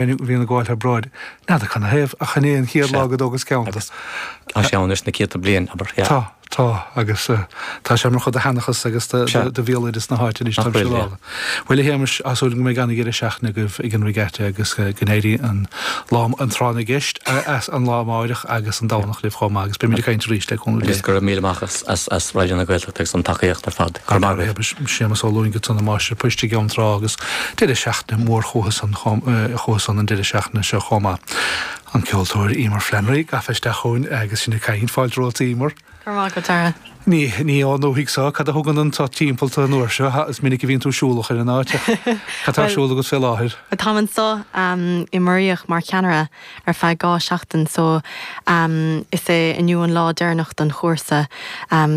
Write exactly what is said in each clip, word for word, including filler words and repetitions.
Bhíonn ag gabháil thar bráid. N'fheadar canathaobh, ach an é an chéad lá go dtógas ceann de. Tá sé ann leis na céadta bliain, abair, yeah. Tá, tá, agus tá sé mar chuid de sheanchas agus de bhéaloideas na háite anois, táim siúráilte. Bhuel, a Shéamais, tá súil agam go mbeidh an-dheireadh seachtaine agaibh ag an Regatta agus go n-éirí an lá, an tráth na gceist as an lá amáireach agus an Domhnach libh chomh maith agus beimid ag caint arís le cúnamh Dé. Agus go raibh míle maith as as Raidió na Gaeltachta agus an tacaíocht ar fad. Go raibh maith agat. Séamus Ó Lúing ansan, an máistir poist i gCeann Trá agus deireadh seachtaine mór chucu san chucu san an deireadh seachtaine seo chomh maith. An ceoltóir Emer Flannery gafa isteach chugainn agus sinn ag caint. Fáilte romhat Emer. Go raibh maith agat, Dara. Ní, ní ón ndúthaigh so, cad a thugann anso timpeall tú an uair seo? Is minic a bhíonn tú siúlach ar an áit ach cad tá ar siúl agat fé láthair? Táim anso i Muiríoch mar cheannaire ar feadh dhá seachtain so is é inniu an lá deireanach don chúrsa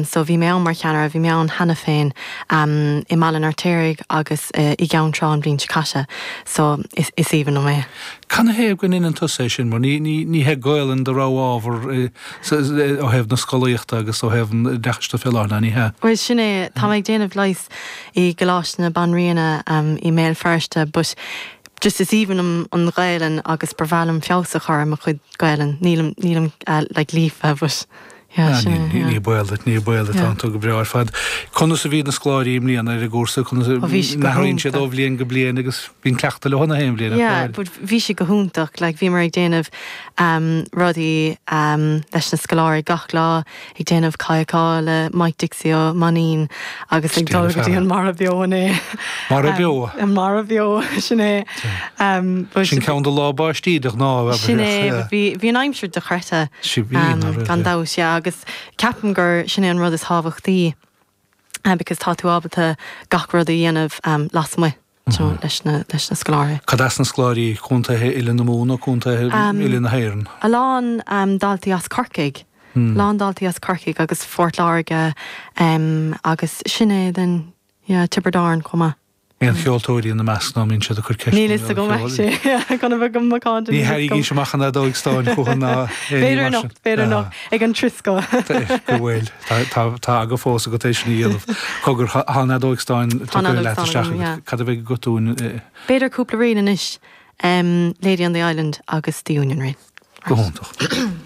so bhí mé ann mar cheannaire, bhí mé ann cheana féin i mBaile an Fheirtéaraigh agus i gCeann Trá an bhliain seo caite so is aoibhinn liom é. Canathaobh go ndeineann tusa é sin mar ní, ní, ní hé Gaolainn do rogha ábhar ó thaobh na scolaíochta agus ó thaobh an oideachais de fé láthair, ná ní hea? Bhuel sin é, tá mé ag déanamh leighis i gColáiste na Banríona i mBéal Feirste but just is aoibhinn liom an Ghaelainn agus ba bhreá liom feabhas a chur ar mo chuid Gaelainn. Nílim, nílim like líofa but yeah, sin é, yeah. Ní baol duit, ní baol duit, tánn tú go breá ar fad. Conas a bhí na scoláirí i mbliana ar an gcúrsa? Conas a, Ó bhí siad go n-athraíonn siad hiontach. ó bhliain go bliain agus bíonn cleachtadh leo na haon bhliain, nach Yeah, bhfuil? but bhí sé go hiontach, like bhíomar ag déanamh um rudaí um leis na scoláirí gach lá, ag déanamh cadhcáil le Mike Dixie Ó Mainnín agus ag dul go dtí an Mara Beo inné. Mara Beo? An Mara Beo, sin é. Sin ceann de lá báistí de ghnáth. Sin é, bhí bhí an aimsir dochreidte gan dabht, yeah, agus ceapaim gur sin é an rud is tábhachtaí because tá tú ábalta gach rud a dhéanamh lasmuigh. leis na leis na scoláirí. Cad as na scoláirí, contaetha uile na Mumhan nó contaetha uile na hÉireann? A lán daltaí as Corcaigh. A lán daltaí as Corcaigh agus Phort Láirge agus sin é then yeah Tiobraid Árann chomh maith. Aon cheoltóirí ina measc nó an mbíonn siad ag cur ceisteanna Níl fhios agam actually chun a bheith go macánta Ní tharraingís amach an fheadóig stáin chucu ná aon ní B'fhéidir mar sin. anocht, b'fhéidir anocht, ag an triosca. Go bhfuil. Tá tá aga fós agat é sin a dhéanamh. Cogar, tá an fheadóig stáin Tá an tugtha fheadóig leat stáin isteach agam, agat. yeah. Cad a bheidh agat dúinn? B'fhéidir cúpla ríl anois, Lady on the Island agus The Union Reel. Go hiontach.